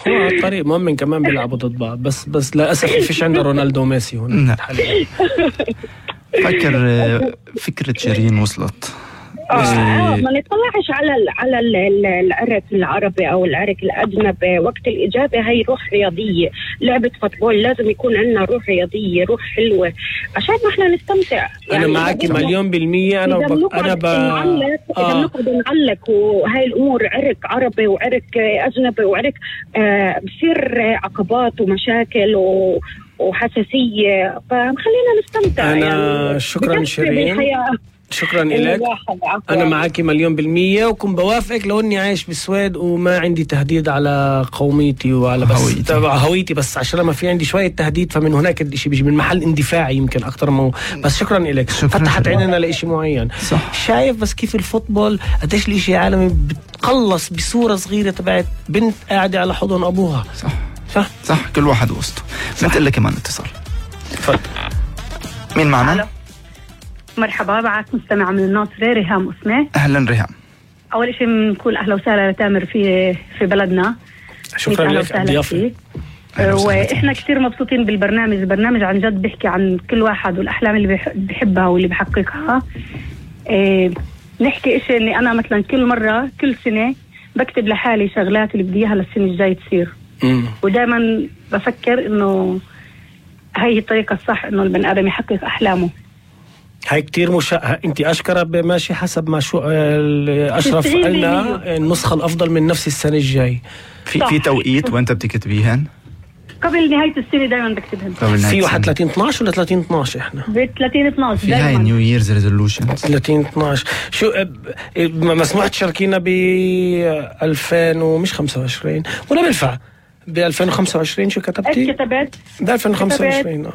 هو على الطريق مؤمن كمان بيلعبوا ضد بعض، بس للأسف فيش عندنا رونالدو وميسي هنا. فكرة شيرين وصلت. ما نطلعش على العرق العربي او العرق الاجنبي. وقت الاجابه هي روح رياضيه، لعبه فوتبول لازم يكون عندنا روح رياضيه، روح حلوه عشان ما احنا نستمتع. انا معك 100%. انا اذا بنقعد نعلق وهي الامور عرق عربي وعرق اجنبي وعرق بصير عقبات ومشاكل وحساسيه، فخلينا نستمتع. انا شكرا شيرين، شكرا لك. أنا معاكي 100%، وكن بوافقك لو إني عايش بالسويد وما عندي تهديد على قوميتي وعلى بس هويتي، بس عشان ما في عندي شوية تهديد، فمن هناك الشيء بيجي من محل اندفاعي يمكن أكتر بس شكرا لك. فتحت عيننا لإشي معين. صح. شايف بس كيف الفوتبول قديش الإشي عالمي بتقلص بصورة صغيرة تبعت بنت قاعدة على حضن أبوها. صح كل واحد وسطه. بنتقل لك كمان اتصال. تفضل. مين معنا؟ مرحبا، معك مستمع من الناصرة ريهام اسمه. أهلا ريهام. أول شيء بنقول أهلا وسهلا لتامر في بلدنا. شكرا لك على الضيافة. وإحنا كتير مبسوطين بالبرنامج. البرنامج عن جد بيحكي عن كل واحد والأحلام اللي بيحبها واللي بيحققها. نحكي إشي إني أنا مثلا كل سنة بكتب لحالي شغلات اللي بدي إياها للسنة الجاي تصير. ودائما بفكر إنه هاي الطريقة الصح إنه البني آدم يحقق أحلامه. هاي كتير انت أشكرا ماشي حسب ما شو أشرف قلنا النسخة الأفضل من نفس السنة الجاي. في توقيت وانت بتكتبيهن؟ قبل نهاية السنة دايما بكتبهن. في واحد 30/12 ولا 30/12 احنا؟ ب 30/12 في هاي نيو ييرز ريزولوشن 30/12. شو مسموح تشاركينا ب 2000 ومش 25 ولا بينفع ب 2025؟ شو كتبتي؟ كتبت ب 2025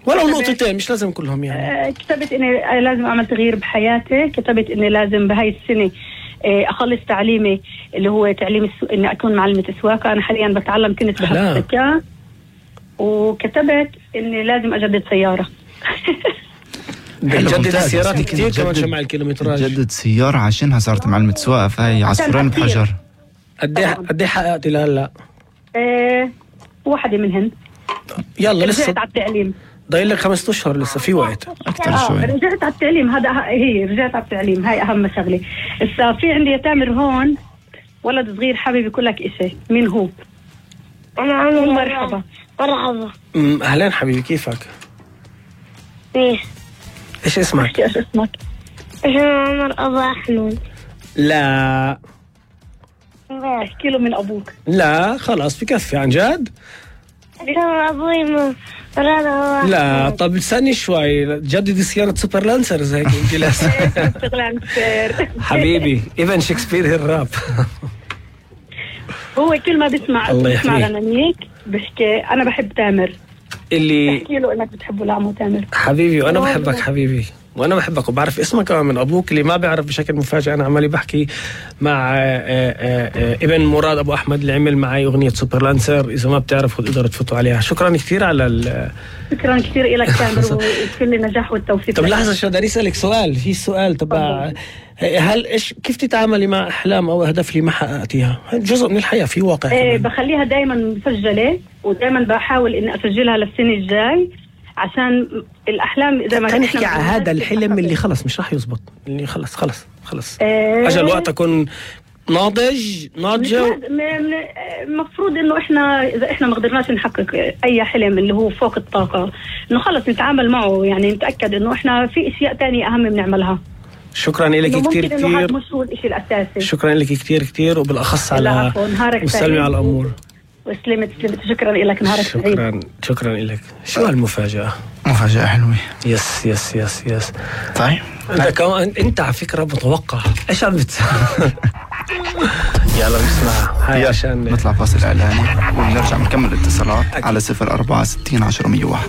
ولو نقطتين، مش لازم كلهم يعني. كتبت اني لازم اعمل تغيير بحياتي. كتبت اني لازم بهاي السنة اخلص تعليمي اللي هو تعليم اني اكون معلمة سواقة. انا حاليا بتعلم كنت بهالسكة. وكتبت اني لازم اجدد سيارة. جدد السيارات كتير كمان جمع الكيلومتراج. جدد سيارة عشانها صارت معلمة سواقة، فهي عصفورين بحجر. قد ايه حققتي لهلا؟ واحدة منهن. يلا لسه رجعت على التعليم، ضايل لك 5 أشهر لسه في وقت أكتر شوي. رجعت على التعليم. رجعت على التعليم، هاي أهم شغلة. إذا في عندي يا تامر هون ولد صغير حابب يقول لك إشي. مين هو؟ أنا مرحبا. أهلين حبيبي، كيفك؟ إيش اسمك؟ إيش اسمك؟ عمر أبو أحمد. لا احكي له من أبوك. لا خلاص بكفي عن جد. أبوي لا طب استني شوي، جددي سيارة سوبر لانسرز هيك انت لازم. حبيبي ايفن شكسبير الراب. هو كل ما بيسمع لنانيك بحكي أنا بحب تامر. اللي احكي له انك بتحبه لعمو تامر. حبيبي وانا بحبك حبيبي، وانا بحبك وبعرف اسمك كمان من ابوك. اللي ما بيعرف بشكل مفاجئ انا عمالي بحكي مع ابن مراد ابو احمد اللي عمل معي اغنيه سوبر لانسر. اذا ما بتعرفوا تقدروا تفوتوا عليها. شكرا كثير على شكرا كثير لك تامر وكل النجاح والتوفيق. طب لحظه شو بدي اسالك سؤال. في سؤال تبع هل كيف تتعاملي مع احلام او اهداف اللي ما حققتيها؟ جزء من الحياه، في واقع. بخليها دايما مسجله ودائما بحاول اني اسجلها للسنه الجاي عشان الاحلام اذا ما نحكي على هذا الحلم اللي خلص مش راح يزبط، اللي خلص اجل وقت اكون ناضجه. المفروض انه اذا احنا ما قدرناش نحقق اي حلم اللي هو فوق الطاقه انه خلص نتعامل معه، يعني نتاكد انه احنا في اشياء تانية اهم بنعملها. شكرا لك كثير. مش هو الشيء الاساسي. شكرا لك كثير وبالاخص على وسلمي على الامور. وسلمت. شكرا لك. نهارك سعيد. شكرا لك. شو هالمفاجأة؟ مفاجأة حلوة. يس. طيب انت على فكرة متوقع ايش عم يلا بسمع هاي عشان نطلع فاصل اعلاني ونرجع نكمل الاتصالات على 0460 10 101.